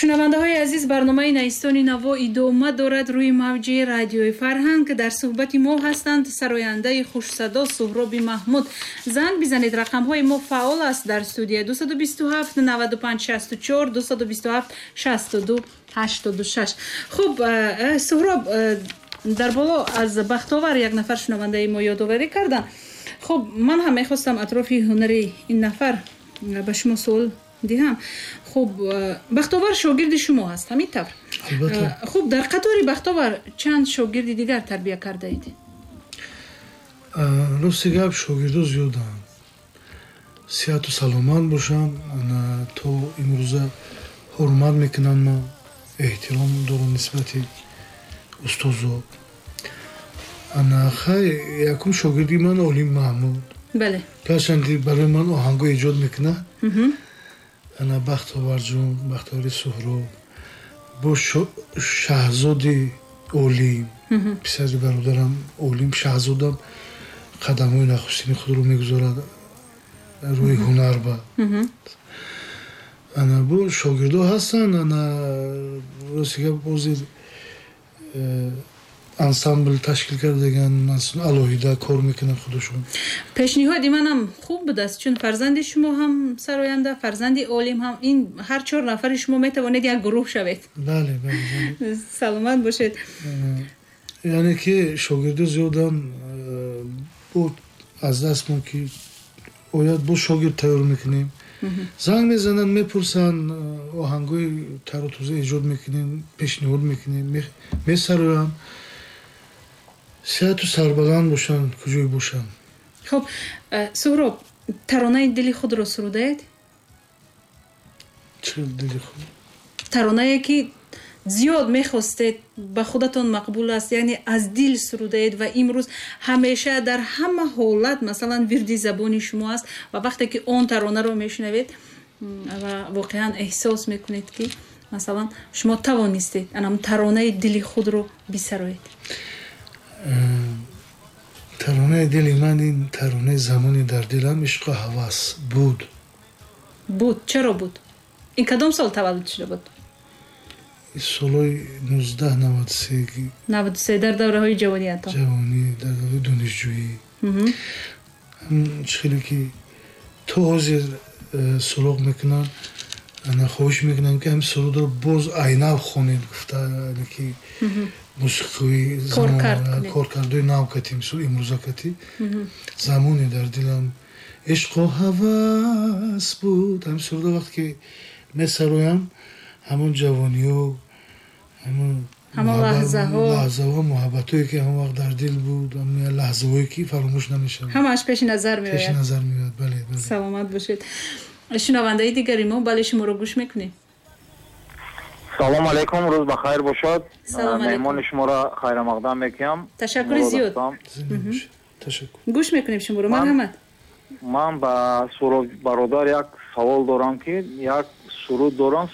Шунавандаҳои азиз, барномаи Найистони наво идома дорад рӯи мавҷи Радиои Фарҳанг. Дар суҳбати мо ҳастанд сарояндаи хушсадо Суҳроби Маҳмуд. Занг бизанед, рақамҳои мо фаъол аст дар студия: 227 95 64, 227 62 86. Хуб, Суҳроб, дар боло аз Бахтовар як нафар шунавандаи мо ёдоварӣ карданд. Хуб, ман ҳам мехостам атрофи ҳунари ин нафар ба шумо суол диҳам. Хуб, Бахтовар шогирди шумо ҳаст, ҳамин тавр? Хуб, дар қатори Бахтовар чанд шогирди дигар тарбия кардаед? Рости гап, шогирдо зиёданд, сиҳату саломат бошанд, то имрӯза ҳурмат мекунанд, ма эҳтиром дорам нисбати устозо. Ана хай, якум шогирди ман Олим Маҳмуд. Гарчанди барои ман оҳанго эҷод мекунад. Ана Бахтоварҷон, Бахтовари Суҳроб, бо Шаҳзоди Олим, писари бародарам Олим, Шаҳзодам қадамҳои нахустини худро мегузорад рӯи ҳунар ба. Ана бо шогирдо ҳастанд. Ана рости гап, ҳозир ансамбл ташкил кардаган, алоҳида кор мекунанд худашон. Пешниҳоди манам хуб будааст, чун фарзанди шумо ҳам сароянда, фарзанди Олим ҳам, ин ҳар чор нафари шумо метавонед як гурӯҳ шавед. Бале, бале. Саломат бошед. Яъне ки шогирдо зиёдан, бо аз дастмон ки ояд, бо шогирд тайёр мекунем. Занг мезананд, мепурсанд, оҳангҳои тару тоза эҷод мекунем, пешниҳод мекунем, месароянд. Сиҳату сарбаланд бошанд, куҷое бошанд. Хуб, Суҳроб, таронаи дили худро сурудаед? Чӣ дили худ? Таронае ки зиёд мехостед, ба худатон мақбул аст, яъне аз дил сурудаед ва имрӯз ҳамеша дар ҳама ҳолат, масалан, вирди забони шумо аст ва вақте ки он таронаро мешунавед ва воқеан эҳсос мекунед, ки масалан шумо тавонистед анам таронаи дили худро бисароед. Таронаи дили ман ин таронаи «Замони дар дилам ишқу ҳавас буд». Буд? Чаро буд? Ин кадом сол таваллуд шуда буд? Солҳои 1993. 93, дар давраҳои ҷавониятон. Ҷавонӣ, дар давраи донишҷӯӣ. Чӣ хеле ки то ҳозир суроғ мекунанд, ана хоҳиш мекунам, ки ҳамин сурудро боз айнав хонед гуфта, ки мусиқии коркардои нав кати, мисол имрӯза кати. «Замоне дар дилам ишқу ҳавас буд», ҳамин сурудро вақте ки месароям, ҳамон ҷавониё, ҳамон ҳамон лаҳзаҳо. Лаҳзаҳо, муҳаббатое ки ҳамон вақт дар дил буд, лаҳзаҳое ки фаромӯш намешавад. Ҳамааш пеши назар пеши меояд. Назар меояд, бале. Саломат бошед. Шунавандаи дигари мо, бале, шуморо гӯш мекунем. Салом алейкум, рӯз ба хайр бошад. Салом алейкум. Меҳмони шуморо хайрамақдам мекунам. Ташаккури зиёд. Ташаккур. Гӯш мекунем шуморо, марҳамат. Ман ба Суҳроб бародар як савол дорам, ки як суруд дорам.